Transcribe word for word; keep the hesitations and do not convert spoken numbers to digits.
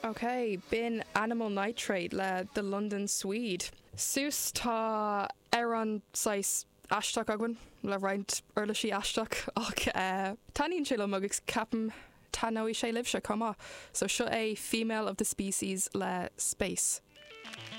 Ok, b'in Animal Nitrate le The London Swede. Suas tá amhrán saghas aisteach againn le roinnt uirlisí aisteach ach uh, taitníonn sé liom agus ceapaim taitneoidh sé libhse chomh maith, so seo é Female of the Species le Space.